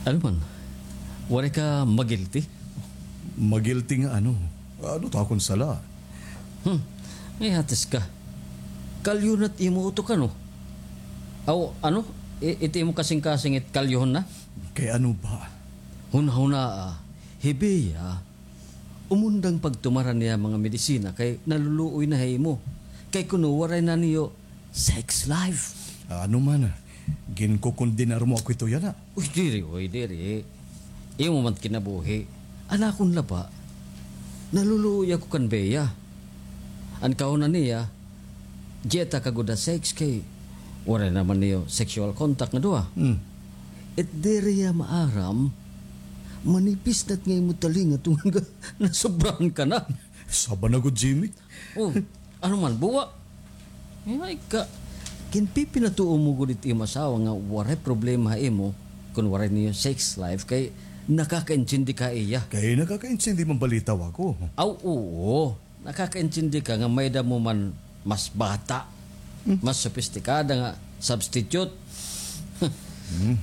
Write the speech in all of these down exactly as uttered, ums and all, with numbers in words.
Ano man? Waray ka magilti? Magilti nga ano? Ano ta akon sala? Hmm. May hatis ka. Kalyo na't imo utok, ano? Aw, ano? I-, iti imo kasingkasing it kalyohon na? Kay ano ba? Hunahunaa, hi Bea, umundang pagtumaran niya mga medisina kay naluluoy na ha imo. Kay kuno waray na niyo sex life. Ano man, ginkukondenar mo ako ito yana. Uy, diri, uy, diri. Imo man kinabuhi. An akon laba, naluluoy ako kan Bea. An kahuna niya, dieta ka gud ha sex kay waray naman niyo sexual contact nga duha. Hmm. It diri ya maaram, manipis na't nga imo talinga tungod nga nasobrahan ka na. Saba na gud, Jimmy. Oh, ano man, buwa? Ay, ka, ginpipinatuo mo gud it imo asawa nga waray problema ha imo kun waray niyo sex life kay nakakaintindi ka ha iya. Kay nakakaintindi man balitaw ako. Aw, oo. Nakakaintindi ka nga may-ada mo man mas bata, mas sopistikada nga substitute.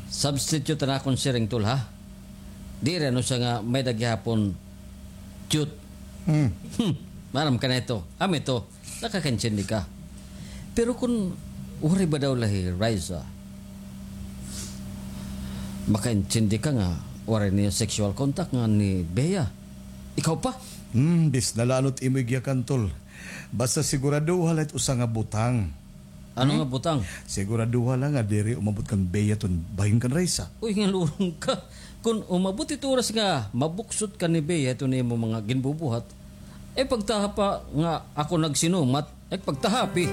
Substitute an akon siring, tol, ha? Diri ano siya nga may-ada gihapon cute. Hmm. Hmm. Maaram ka na ito. Amo ito. Nakakaintindi ka. Pero kun waray ba daw la hi Raisa, makaintindi ka nga waray niyo sexual contact nga ni Bea. Ikaw pa? Hmm, bisan na la ano it imo igiyakan, tol. Basta siguraduha la it usa nga butang. Ano nga butang? Siguraduha la nga diri umabot kan Bea iton bahin kan Raisa. Uy, ngalurong ka. Kun umabot it oras nga mabuksot ka ni Bea iton imo mga ginbubuhat, eh, pagtaha pa nga ako nagsinumat, eh, pagtahapi.